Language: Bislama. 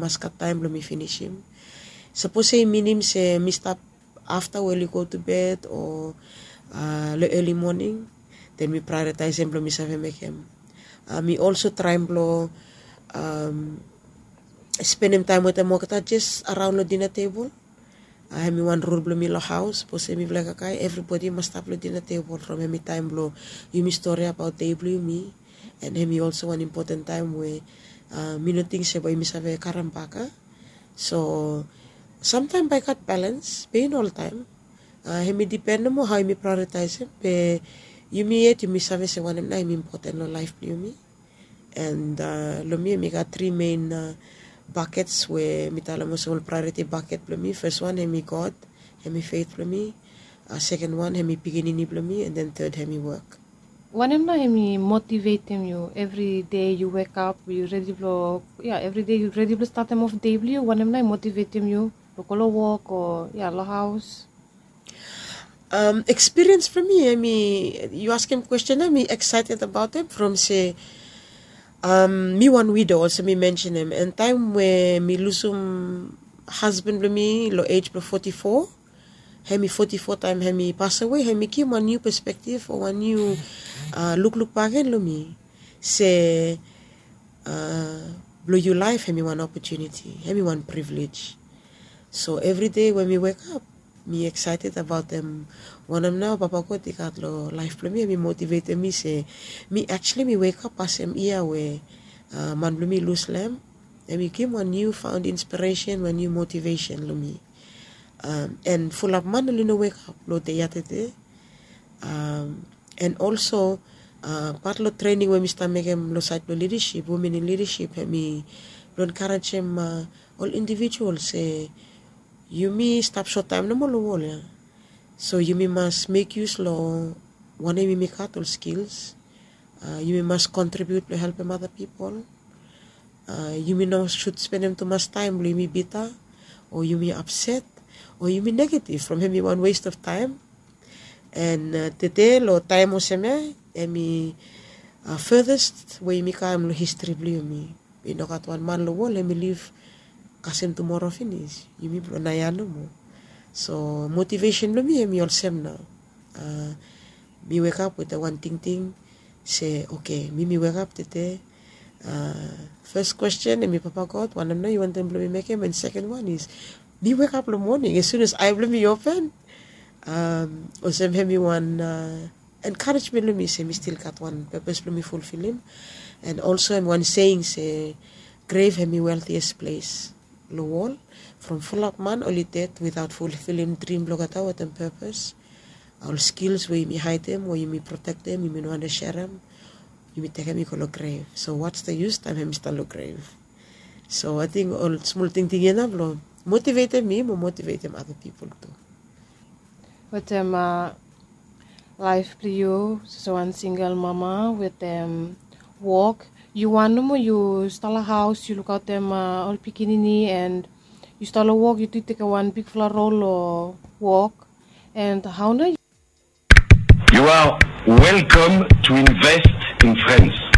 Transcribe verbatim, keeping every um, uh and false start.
Mas gat taem blong mi finisim. Sapos se i minim se mi stap afta we oli go tu bed o long eli moning, den mi praeritaesem blong mi save mekem. Mi olso traem blong spenem taem wetem olgeta jes araon long dina tebol. Hem i wan rul blong mi long haos sapos em i blek akai evribodi i mas stap long dina tebol from hem i taem blong yumi stori abaot dei blong yumi. An hem i olso wan impoten taem we mi no ting se bae yumi save karem bak a. So samtaem bae i gat balans be i no oltaem. Hem i dipen nomo hao yumi praeritaesem be yumi yet yumi save se wanem nao hem i impoten long laef blong yumi. An long mi hem i gat tri men bakets we mi talem olsem ol praeriti baket blong mi fes wan hem i god, hem i feit blong mi, seken wan hem i pikinini blong mi an den ted hem i wok. Wanem nao hem i motivetem yu evri dei yu wekap yu redi blong ya evri dei yu redi blong statem of dei blong yu wanem nao hem i motivetem yu blong go long wok o ya long haos? Ekspiriens blong mi em i yu askem kwesten em i eksaeted abaot em from se mi wan wido olsem mi mensenem an taem we mi lusum hasban blong mi long ej blong foti fo, hem i foti fo taem hem i pasawe hem i givim wan niu pespektiv o wan niu lukluk bakegen long mi se blong yu laef hem i wan opotuniti hem i wan privilej. So evri dei we mi wekap mi eksaeted abaot em wanem nao papa god i gat long laef blong mi em i motivetem mi se mi aktuali mi wekap pasem yia we man blong mi i lus long em. Em i givim wan niu faon inspiresen wan niu motivesen long mi. An fulap man oli no wekap long dei ya tede. An olso pat long trening we mi stap mekem long saed blong lidasip women in lidasip hem i blong enkarejem ol indivijual se yumi stap sot taem nomo long wol ya. So yumi mas mek yus long wanem yumi gat ol skils. Yumi mas kontribiut blong helpem ada pipol. Yumi no sud spenem tumas taem blong yumi bita o yumi apset o yumi negativ from hem i wan west of taem. An tede long taem olsem ya em i fedes we yumi kam long histri blong yumi. I no gat wan man long wol em i liv kasem tumora finis yumi blong naoia nomo. So motivesen blong mi em i olsem nao. Mi wekap wetem wan tingting se oke mi mi wekap tete. Fes kwesten em i papa god wanem nao yu wantem blong mi mekem an seken wan is mi wekap long moning as sun as ae blong mi i open olsem hem i wan enkarejmen long mi se mi stil gat wan pepes blong mi fulfilim. An olso hem wan seing se grev hem i weltias ples long wol from fulap man oli ded witaot fulfilim drim blong olgeta wetem pepes. Ol skils we yumi haedem o yumi protektem yumi no wante serem yumi tekem i go long grev so wats de yus taem hem i stap long grev. So ating ol smol tingting ya nao blong motivetem mi mo motivetem ada pipol tu. Wetem laef blong yu sose wan singel mama wetem wok yu wan nomo yu stap long haos yu lukaotem ol pikinini an yu stap long wok yu tu tekem wan bigfala rol long wok. And how na? You are welcome to invest in France.